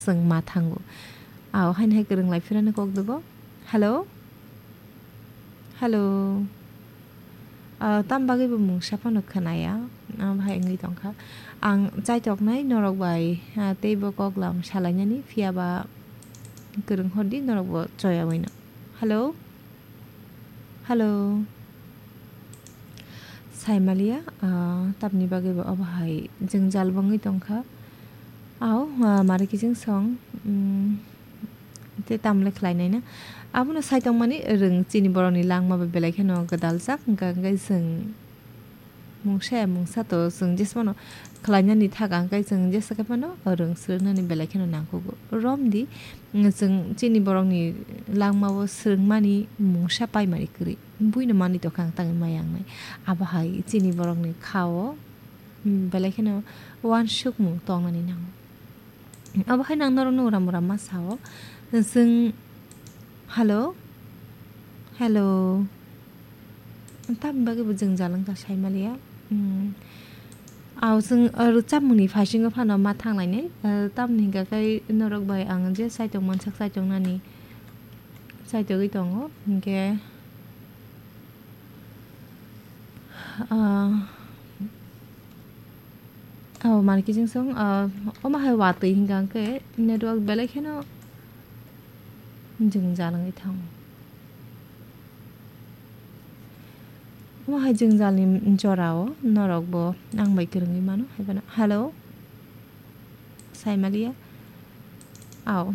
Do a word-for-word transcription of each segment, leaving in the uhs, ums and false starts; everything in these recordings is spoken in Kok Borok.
chwng ma thango. Ao haino hai kwrwng lai phirano kok dwbo. Hello? Hello? Ah, tam bagwi bo mungsa phano khwnaya. Ah, bahai wngwi tongkha. Ang chaitoknai norok bai, ah, teibo koklam salainani, phiyaba kwrwng hordi norokbo choyawi no. Hello? Hello? Saimaliya, ah, tamni bagwi bo obo hai jwngjal bo wngwi tongkha. Ao, ah, mari kiching song, mm, tei tamle khlainai na. Abono saitongmani rwng chini borokni langma bai belai kheno gwdaljak, hwnkha hwnkhe chwng mungsa ya mungsa to chwng jesmano khlainani thaga hwnkhe chwng jesa khe phano rwng swrwngnani belai kheno nangkukgo. Romdi, mm, chwng chini borokni langmao swrwngmani mungsa paimani kwrwi. Buino manwi tongkha ang tangwi maya wngnai. Abo hai chini borokni khao, mm, belai kheno uansukmung tongnani nango. Abo hai nang norokno uram uram ma sao. Chwng, hello? Hello? Tamni bagwi bo jwngjal wngkha saimaliya. Mm. Ao chwng, ah, rwchapmungni phaisingo phano ma thanglainai. Ah, tamni hwnkha khe norok bai ang je saitok mansak saitok nani saitogwi tongo. Hinkhe, ah, Oh, mani kiching song, ah, omo hai watwi hingka hwnkhe network belai kheno jwngjal wngwi thango. Omo hai jwngjalni jorao norokbo ang bai kwrwngwi mano, hai phano, hello, saimaliya. Ao,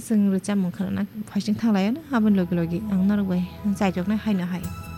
chwng rwchapmung khwnana phaising thanglaiyano, aboni logi logi ang norok bai chaitoknai haino hai.